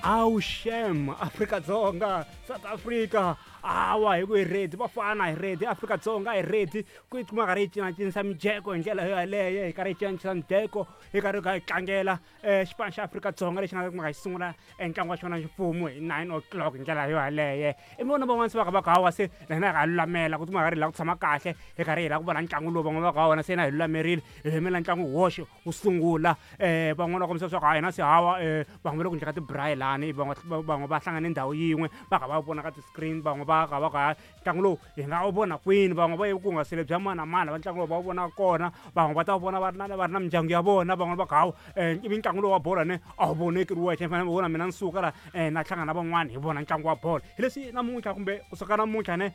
Awu shem, Afrika-Dzonga, South Africa, hawa hi ku hi ready, vafana hi ready, Afrika-Dzonga hi ready ku yi kuma karhi yi cinacinisa mijeko hi ndlela yo yaleyo, hi karhi hi cinacisa mijeko, hi karhi hi kha hi tlangela xipano xa Afrika-Dzonga lexi nga ta kumeka xi sungula ntlangu wa xona ximfumo hi 9 o'clock hi ndlela yo yaleyo. I vona van'wana se va kha va ku hawa, se na hina hi lulamela ku tikuma karhi hi lava ku tshama kahle, hi karhi hi lava ku vona ntlangu lowu. Van'wana va ku hawa, na se na hi lulamerile, hi yimela ntlangu woxe wu sungula. Van'wana va kombisa leswaku ha hina se hawa, van'we va le ku endla ka tibrayi lani, van'we va hlangane ndhawu yin'we, va kha va vona ka ti-screen, van'we va kha va ku ha ntlangu lowu hi nga wu vona kwini, van'we va ye ku hungasele bya mani na mani va ntlangu lowu va wu vona kona, van'we va ta wu vona va ri na mindyangu ya vona, van'wana va ku hawa, ivi ntlangu lowu wa bolo ne a wu voneki ri wexe, ni fanele vona mina ni suka la, na hlangana na van'wani hi vona ntlangu wa bolo. Hi leswi namuntlha kumbe kusuka namuntlha ne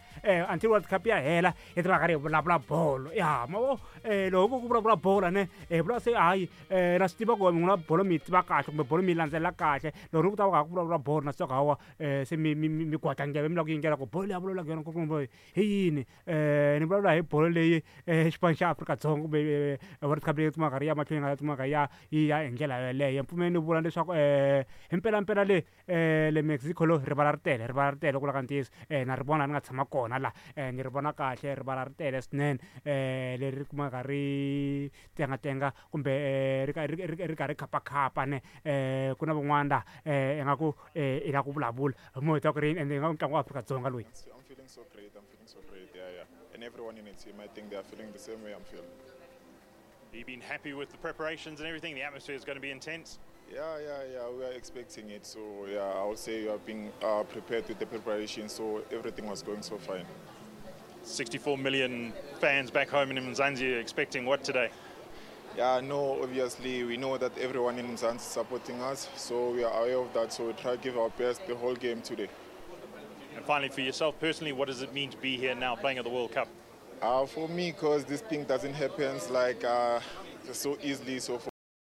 until World Cup ya hela, hi ta va karhi hi vulavula bolo ya mavo. Loko ku vulavula bolo ne hi vula se hayi, na swi tiva ku n'wina bolo mi yi tiva kahle kumbe bolo mi yi landzelela kahle. Loko ni ku ta va ku vulavula bolo, na swi tiva ku hawa, se mi kwata ndleve mi lava ku yingela ku bolo leyi a vulavulaka yona kumbe hi yini. Ni vulavula hi bolo leyi, xipano xa Afrika-Dzonga kumbe World Cup leyi kumaka ri ya mahlweni, nga kumaka ya yi ya hi ndlela yeleyo. Mpfumeli ni vula leswaku hi mpelampela le le Mexico lo rivala ri tele, rivala ri tele ku vula ka ntiyiso. Na ri vona ni nga tshama kona la, ni ri vona kahle rivala ri tele swinene, leri kumaka ri tengatenga kumbe ri karhi khapakhapa ne. Ku na van'wana la, ingaku i lava ku vulavula hi moya ta ku ri ende ingaku ntlangu wa Afrika-Dzonga loyi. I'm feeling so great. I'm feeling so great. Yeah. And everyone in the team, I think they are feeling the same way I'm feeling. Have you been happy with the preparations and everything? The atmosphere is going to be intense. Yeah. We are expecting it. So yeah, I would say we have been prepared with the preparation. So everything was going so fine. 64 million fans back home in Mzansi expecting what today? Yeah, no, obviously we know that everyone in Mzansi is supporting us, so we are aware of that. So we try to give our best the whole game today. And finally, for yourself personally, what does it mean to be here now playing at the World Cup? For me, because this thing doesn't happen like so easily, so for